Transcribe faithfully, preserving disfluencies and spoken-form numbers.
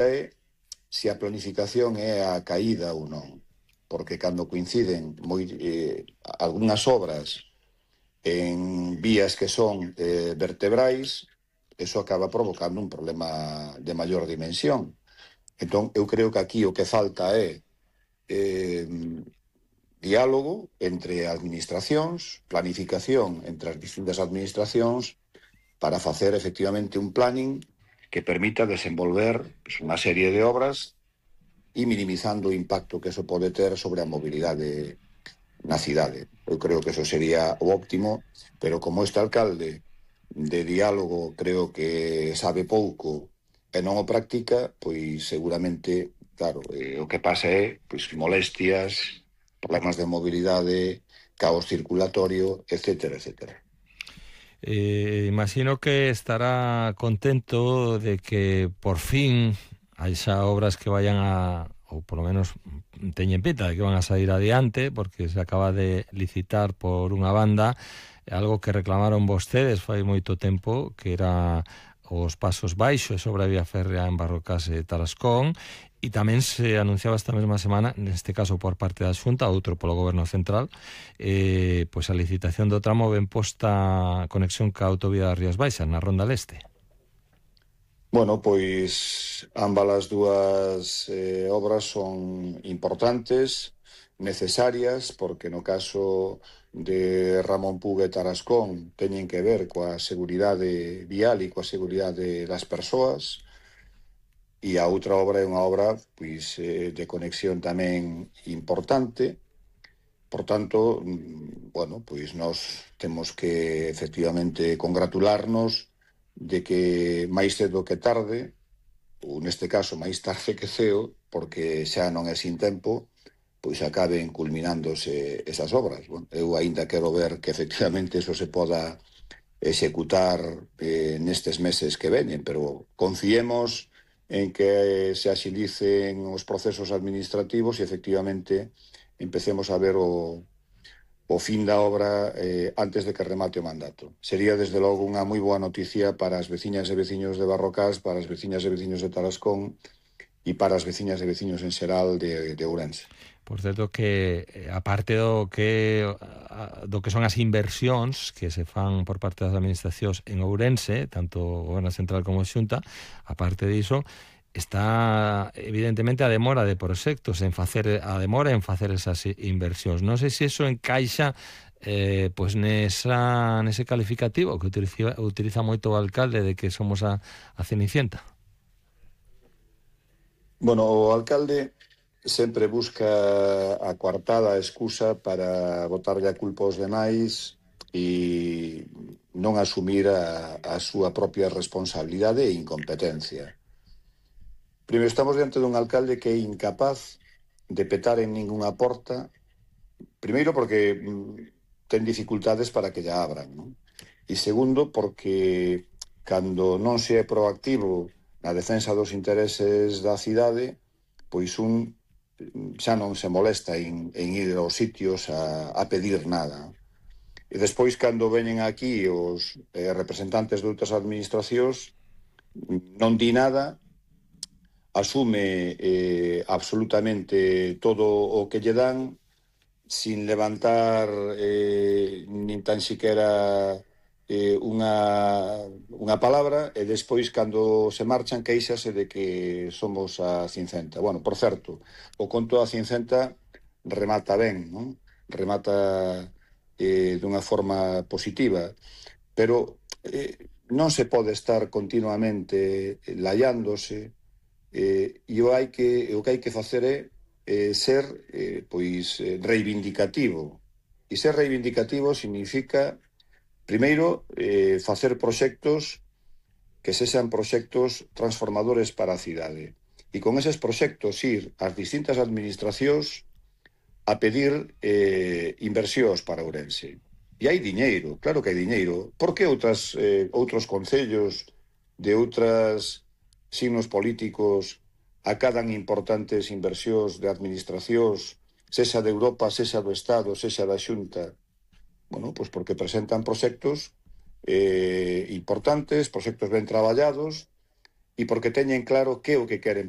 é se a planificación é a caída ou non, porque cando coinciden moi, eh, algunhas obras en vías que son eh, vertebrais, eso acaba provocando un problema de maior dimensión. Entón, eu creo que aquí o que falta é eh, diálogo entre administracións, planificación entre as distintas administracións para facer efectivamente un planning que permita desenvolver pues, unha serie de obras e minimizando o impacto que eso pode ter sobre a mobilidade na cidade. Eu creo que eso sería o óptimo, pero como este alcalde de diálogo creo que sabe pouco e non o practica, pois seguramente, claro, eh, o que pasa é pois molestias, problemas de mobilidade, caos circulatorio, etcétera, etcétera. Eh, imagino que estará contento de que por fin haya obras que vayan a, ou por lo menos teñen pinta de que van a sair adiante, porque se acaba de licitar por unha banda algo que reclamaron vostedes fai moito tempo, que era os pasos baixos sobre a vía férrea en Barrocas e Tarascón, e tamén se anunciaba esta mesma semana, neste caso por parte da Xunta, outro polo Goberno Central, eh, pois a licitación do tramo ben posta conexión ca autovía das Rías Baixas, na Ronda Leste. Bueno, pois ambas as dúas eh, obras son importantes, necesarias, porque no caso de Ramón Puga e Tarascón teñen que ver coa seguridade vial e coa seguridade das persoas, e a outra obra é unha obra pois, eh, de conexión tamén importante. Por tanto, bueno, pois nós temos que efectivamente congratularnos de que máis cedo que tarde, ou neste caso máis tarde que ceo, porque xa non é sin tempo, pois acaben culminándose esas obras. Bueno, eu aínda quero ver que efectivamente eso se poda executar eh, nestes meses que veñen, pero confiemos en que se axilicen os procesos administrativos e efectivamente empecemos a ver o, o fin da obra eh, antes de que remate o mandato. Sería desde logo unha moi boa noticia para as veciñas e veciños de Barrocas, para as veciñas e veciños de Tarascón e para as veciñas e veciños en xeral de, de Ourense. Por certo que, aparte do que do que son as inversións que se fan por parte das administracións en Ourense, tanto o Goberno Central como a Xunta, aparte diso, está evidentemente a demora de proxectos, en facer a demora en facer esas inversións. Non sei se iso encaixa eh, pois nesa, nese calificativo que utiliza, utiliza moito o alcalde de que somos a, a Cenicienta. Bueno, o alcalde sempre busca a coartada excusa para botarlle a culpa aos demais e non asumir a, a súa propia responsabilidade e incompetencia. Primeiro, estamos diante dun alcalde que é incapaz de petar en ningunha porta, primeiro porque mm, ten dificultades para que lla abran, non? E segundo, porque cando non se é proactivo na defensa dos intereses da cidade, pois un xa non se molesta en, en ir aos sitios a, a pedir nada. E despois, cando veñen aquí os eh, representantes de outras administracións, non di nada, asume eh, absolutamente todo o que lle dan, sin levantar eh, nin tan siquiera eh, unha, unha palabra, e despois, cando se marchan, queixase de que somos a Cincenta. Bueno, por certo, o conto da Cincenta remata ben, non? Remata eh, dunha forma positiva, pero eh, non se pode estar continuamente laiándose, eh, e o, hai que, o que hai que facer é eh, ser eh, pois reivindicativo. E ser reivindicativo significa primeiro, eh, facer proxectos que sexan proxectos transformadores para a cidade. E con eses proxectos ir ás distintas administracións a pedir eh, inversións para Ourense. E hai diñeiro, claro que hai diñeiro. Por que outras, eh, outros concellos de outras signos políticos acadan importantes inversións de administracións, sexa de Europa, sexa do Estado, sexa da Xunta? Bueno, pois porque presentan proxectos eh, importantes, proxectos ben traballados, e porque teñen claro que é o que queren para